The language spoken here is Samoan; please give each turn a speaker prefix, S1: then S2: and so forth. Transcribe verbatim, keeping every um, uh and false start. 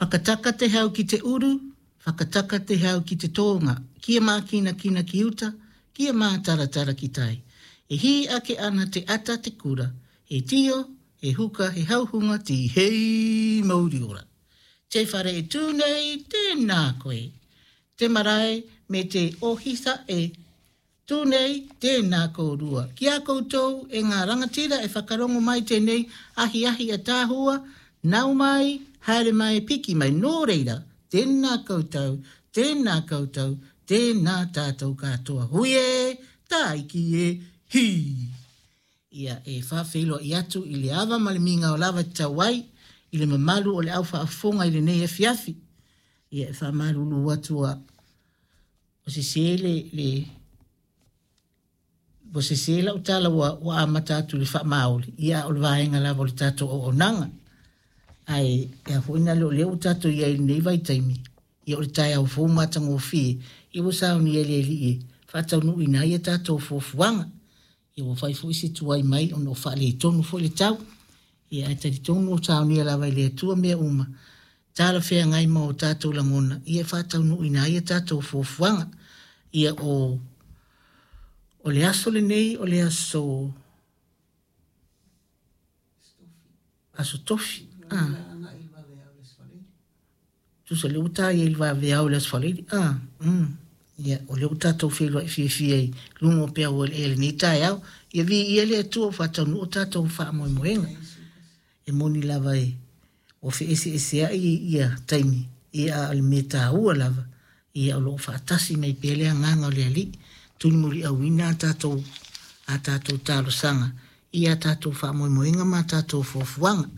S1: Whakataka te hau ki te uru, whakataka te hau ki te tōnga, kia mākinakina ki uta, kia mātaratara ki tai. E hī ake ana te ata te kura, he tio, he huka, he hauhunga, tīhei mauri ora. Te whare e tū nei, tēnā koe. Te marae me te ohisa e tū nei, tēnā kōrua. Ki a koutou e ngā rangatira e whakarongo mai tēnei ahiahi ataahua, nau mai, haere mai, piki mai. Nō reira, tēnā koutou, tēnā koutou, tēnā tātou katoa. Hui e, tāiki e, hī! Ia e faafeiloai atu i le ava ma le migao lava e tatau ai i le mamalu o le au faafofoga i lenei afiafi. Ia e faamalulu atu ua ua sesē le le ua sesē lau tala ua ua amata atu i le faamaoli, ia a o le vaega lava o le tatou auaunaga. Ae e a foi na le o lea ua tatou i ai i lenei vaitaimi, ia o le taeao fou matagofie, ia ua saunia e le Alii e faataunuuina ai a tatou fuafuaga. Ia ua fai foi se tuai mai ona o faaletonu foi le tau. Ia ae talitonu o saunia lava e le Atua mea uma, talafeagai ma o tatou lagona, ia e faataunuuina ai a tatou fuafuaga. Ia o o le aso lenei o le aso Aso Tofi. Ah. Tusa lea ua ta i ai i le vaveao i le Aso Faraile. Ah, mm. Ia, o lea ua tatou feiloai fiafia i luga o peau eleele i lenei taeao. Ia viia le Atua ua faataunuu o tatou faamoemoega. E moni lava e ua feeseeseai ia taimi, ia a o le mea taua lava, ia o lo o faatasi mai pea le agaga o le Alii, tulimuliauina a tatou a tatou talosaga i a tatou faamoemoega ma a tatou fuafuaga.